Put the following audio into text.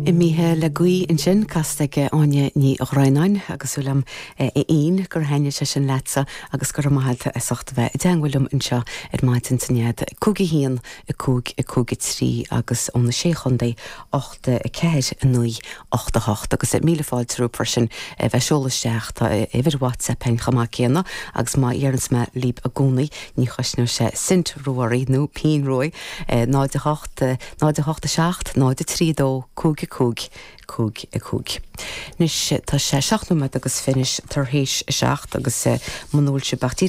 Imithe le gaoth ansin, casta ag Áine Ní Dhroighneáin, agus súil agam a Fhinn gur thaitnigh sé sin leatsa agus go raibh maith agat as ucht a bheith i dteangmháil liom anseo ar maidin san nead 5 1 5 5 3 agus ó na Sé Chontae 8 4 9 8 8 agus míle fáilte romhaibh freisin a bheith ag seoladh isteach. Tá uimhir WhatsApp againn chomh maith céanna agus mar a dheireanns mé libh i gcónaí ní chosnóidh sé cent ró-oraibh nó pingin ró 0 8 0 8 7 0 3 2 5 5 5 5. Anois tá sé seacht nóiméad agus fiche tar éis a seacht agus muna bhfuil sibh ach díreach.